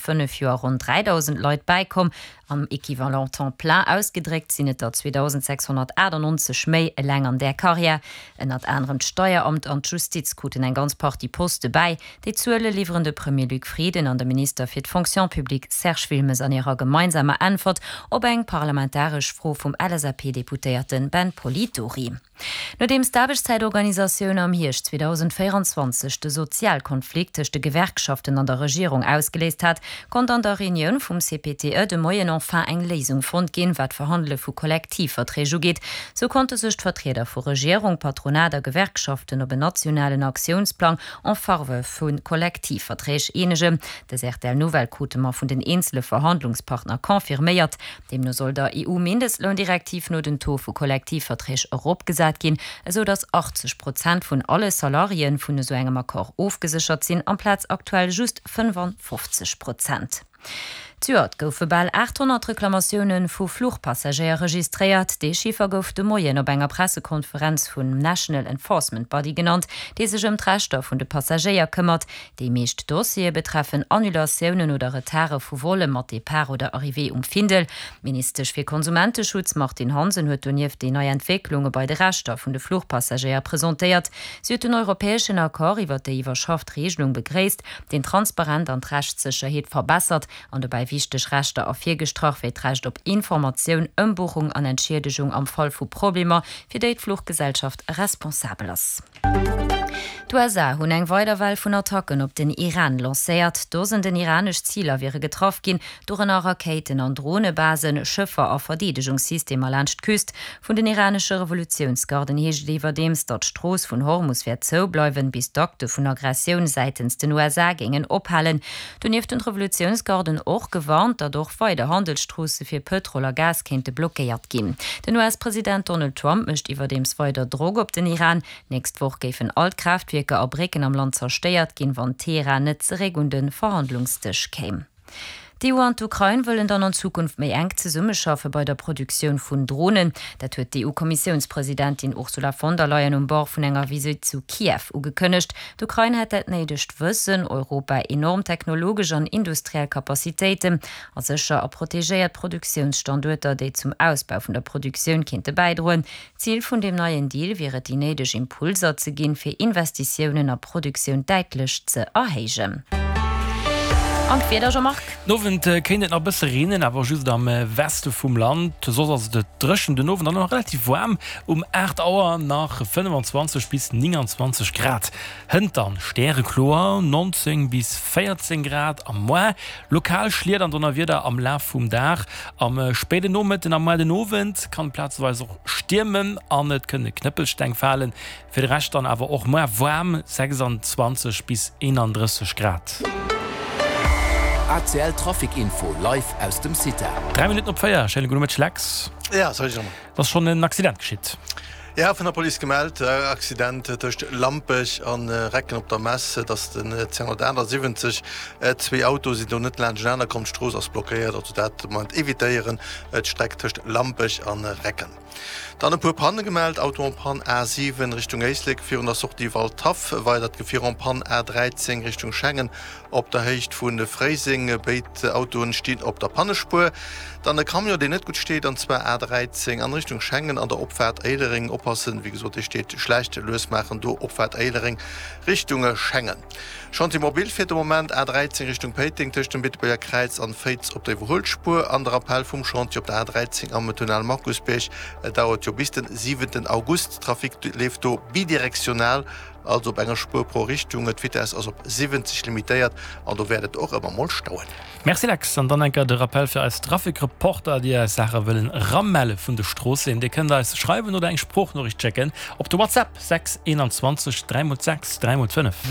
5 Joer ronn 3.000 Leit bäikomm. Am Equivalent temps plein ausgedréckt sinn et der 2.698 méi eleng an där Karriär. Ënnert anerem d'Steieramt an d'Justiz kruten eng ganz Partie Poste bäi. Déi Zuele liwweren de Premier Luc Frieden an de Minister fir d'Fonction publique Serge Wilmes an hirer gemeinsamer Äntwert op eng parlamentaresch Fro vum LSAP-Deputéierte Ben Polidori. Nodeems d'Aarbechtszäitorganisatioun am Hierscht 2024 de Sozialkonflikt tëscht de Gewerkschaften an der Regierung ausgeléist hat, konnt an der Reunioun vum CPTE de Moien enfin eng Léisung fonnt ginn, wat d'Verhandele vu Kollektivverträg ugeet. Sou konnte sech d'Vertrieder vu Regierung, Patronat a Gewerkschaften op en nationalen Aktiounsplang en faveur vu Kollektivverträg eenegen. Dës RTL-Nouvelle krute mer vun den eenzele Verhandlungspartner confirméiert. Deemno soll der EU-Mindestloundirektiv no den Taux vu Kollektivverträg eropgesat ginn, esou datt 80 Prozent vun alle Salariéen vun esou engem Accord ofgeséchert sinn, amplaz aktuell just 55 Prozent. Zejoert goufe bal 800 Reklamatioune vu Fluchpassagéier registréiert. Dee Chiffer gouf de Moien op enger Pressekonferenz vum National Enforcement Body genannt, dee sech ëm d'Rechter vun de Passagéier këmmert. Déi meescht Dossiere betreffen Annulatiounen oder Retarde vu Volle mat Depart oder Arrivée um Findel. D'Ministesch fir Konsumenteschutz Martine Hansen huet donieft déi nei Entwécklunge bei de Rechter vun de Fluchpassagéier presentéiert. Si huet den europäeschen Accord iwwer déi iwwerschafft Reegelung begréisst, deen d'Transparent an d'Rechtssécherheet verbessert an dobäi wichteg Rechter ervirgestrach, wéi d'Recht op Informatioun, Ëmbuchung an Entschiedegung am Fall vu Problemer, fir déi d'Fluchgesellschaft responsabel ass. D'USA hunn eng weider Well vun Attacken op den Iran lancéiert. Dosenden iranesch Ziler wiere getraff ginn, dorënner Rakéiten an Dronebasen, Schëffer a Verdeedegungssystemer laanscht d'Küst. Vun den iranesche Revolutiounsgarden heescht et iwwerdeems, datt d'Strooss vun Hormus wäert zoubleiwen, bis d'Akte vun Aggressioun säitens den USA géingen ophalen. Donieft hunn d'Revolutiounsgarden och gewarnt, datt och weider Handelsstroosse fir Pëtrol a Gas kéinte blockéiert ginn. Den US-President Donald Trump mécht iwwerdeems weider Drock op den Iran. D'nächst Woch géifen all d'Kraaftwierker a Brécken am Land zerstéiert ginn, wann Teheran net zeréck un de Verhandlungsdësch kéim. D'EU an d'Ukrain wëllen dann an Zukunft méi enk zesummeschaffe bei der Produktioun vun Dronen. Dat huet d'EU-Kommissiounspresidentin Ursula von der Leyen um Bord vun enger Visitt zu Kiew ugekënnegt. D'Ukrain hätt dat néidegt Wëssen, Europa enorm technologesch an industriell Capacitéiten a sécher a protegéiert Produktiounsstanduerter, déi zum Ausbau vun der Produktioun kéinte bäidroen. Zil vun deem neien Deal wier et, déi néideg Impulser ze ginn, fir Investitiounen a Produktioun däitlech ze erhéijen. An d'Wieder, Jean-Marc? Den Owend kéint et nach e bësse reenen, awer just am Weste vum Land. Soss ass et dréchen den Owend an och relativ waarm. Um 8 Auer nach 25 bis 29 Grad, hënt dann stärekloer 19 bis 14 Grad am Mois. Lokal Schliet an Donnerwieder am Laf vum Dag. Am spéiden Nomëtten a moar den Owend kann et plazeweis och stiermen an et kënne Knëppelsteng falen. Fir de Rescht dann awer och moar waarm, 26 bis 31 Grad. ACL Trafic Info live aus dem CITA. 3 Minutten op 4, schéine gudde Mëtteg Lex. Ja, salut Jean-Marc. Et ass schonn en Accident geschitt. Ja, vun der Police gemellt, Accident tëscht Lampech an Recken op der Mess. Et ass den 278. Zwee Autoe sinn do net laanschtenaner komm. D'Strooss ass blockéiert, also dat de Moment evitéieren, d'Streck tëscht Lampech an Recken. Dann e puer Panne gemellt, Auto en panne A7 Richtung Éislek virun der Sortie Waldhaff, weidert Gefier en panne A13 Richtung Schengen Op der Héicht vu Fréiseng, béid Autoen stinn op der Pannespuer. Dann e Camion, deen net gutt steet, an zwar A13 an Richtung Schengen an der Opfaart Éilereng. Oppassen, wéi gesot, dee steet schlecht. Lues maachen do, Opfaart Éilereng Richtung Schengen. Chantier mobile fiert de Moment A13 Richtung Péiteng tëscht dem Beetebuerger Kräiz an Féiz op der Iwwerhuelspuer. An de Rappell vum Chantier op der A13 am Tunnel Markusbierg dauert jo bis den 7 August. Trafic leeft do bidirektional. Also op enger Spuer pro Richtung, d'Vitess ass op 70 limitéiert an do wäert et och ëmmer mol stauen. Merci Lex, an dann enker de Rappel fir eis Trafikreporter, déi eis Saache wëllen eramelle vun de Stroosseen. Dir kënnt eis schreiwen oder eng Sproochnoriicht schécken op de WhatsApp 6 21 3 x 6 3 x 5.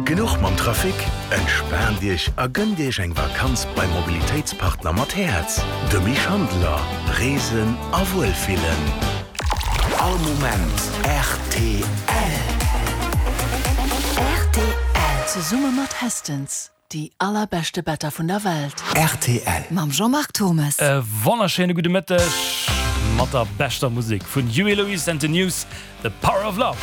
Genuch mam Trafic? Entspaant Iech a gënnt Iech eng Vakanz beim Mobilitéitspartner mat Häerz, de Mich Handeler. Reesen a Wuelfillen. All Moment rtl. Rtl. Zesumme mat Hästens, déi allerbeschte Better vun der Welt. Rtl. Mam Jean-Marc Thommes. E wonnerschéine gudde Mëtteg mat der beschter Musek vun Huey Lewis and the News, The Power of Love.